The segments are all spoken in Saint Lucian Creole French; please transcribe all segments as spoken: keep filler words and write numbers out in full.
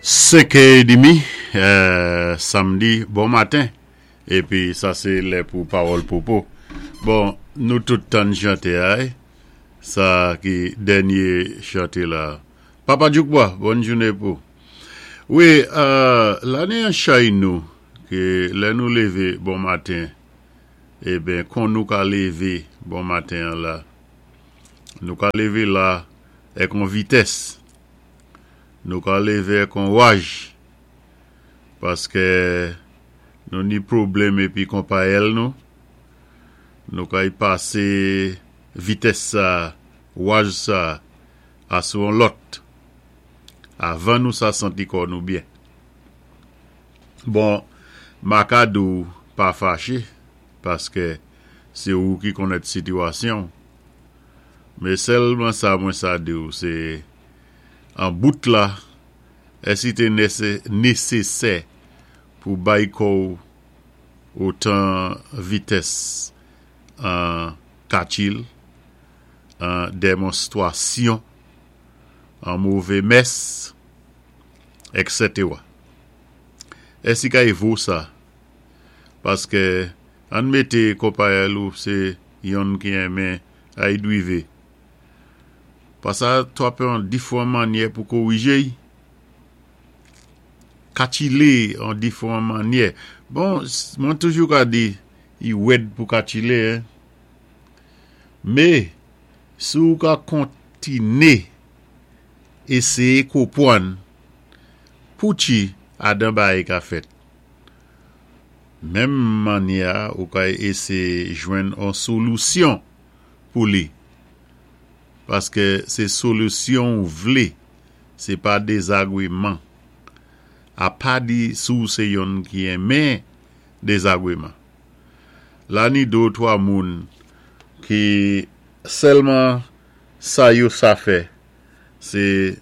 Senkè édmi, euh, samdi, bon maten. Épi sa sé lè pou Pawòl Popo. Bon, nou tout tann chanté ay. Sa ki dènyé chanté la. Papa Djoukba, bòn jounen pou. Wi, euh, la ni an chay nou, ké lè nou lévé bon maten, eben, kon nou ka lévé bon maten an la, nou ka lévé la èk on vitès, nou ka lévé èk on waj, paské nou ni pwoblèm épi konpayèl nou, nou kay pasé vitès sa, waj sa, asou an lòt, avan nou sa santi kò nou byen. Bon, ma ka di ou pa faché, paské sé ou ki konnèt sitiyasyon. Mé sèlman sa mwen sa di ou, sé an bout la, èsi té nésésè pou bay kò otan vitès an katchil, an démonstwasyon, an mové mès, et cetera. Èsi kay vo sa? Paské ann mété konpayèl ou sé yonn ki enmen ay dwivé. Pa sa twapé an difwan mannyè pou kowijé. Katchilé an difwan mannyè. Bon, mwen toujou ka di, i wèd pou katchilé, hein? Mé, si ou ka kontiné éséyé konpwann pouchi adan bagay ka fèt. Menm mannyè ou ka éséyé jwenn an solisyon pou li. Paské sé solisyon ou vlé, sé pa dézagwéman. A pa di sou sé yonn ki enmen dézagwéman. La ni dé ou twa moun ki sèlman sa yo sa fè, sé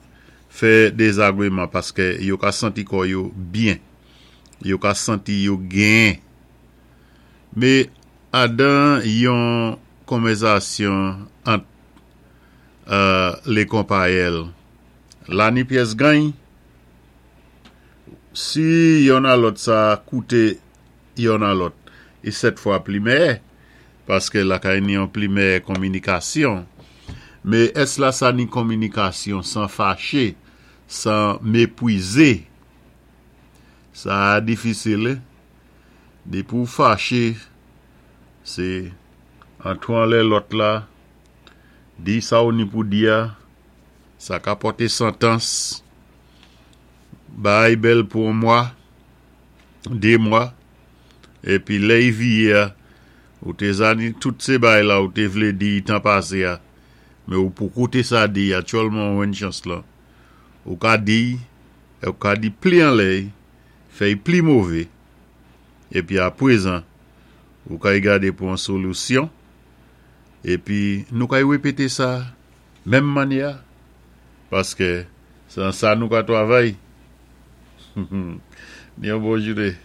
fè dézagwéman paské yo ka santi kò yo byen, yo ka santi yo gen. Mé adan yon konvèsasyon ant euh, lé konpayèl, la ni pyès gany, si yonn a lòt sa kouté yonn a lòt, é sèt fwa pli mèyè, paské la kay ni yon pli mèyè konminikasyon. Mé ès la sa ni konminikasyon san faché, san mépwizé? Sa difisil, eh? Dépi ou faché, sé an lè lòt la, di sa ou ni pou di a, sa ka pòté santans, bay bèl pou yon mwa, dé mwa, épi lè i viyé a, ou té zani tout sé bay la ou té vlé di tan pasé a, mé ou pou kouté sa di aktyèlman ou jwenn chans lan. Ou ka di, ou ka di pli an lè, fè pli mové, épi apwézan, ou ka gadé pou an solisyon, épi nou ka wépété sa, menm mannyè, paské sé an sa nou ka twavay. Ni yon bon jounen.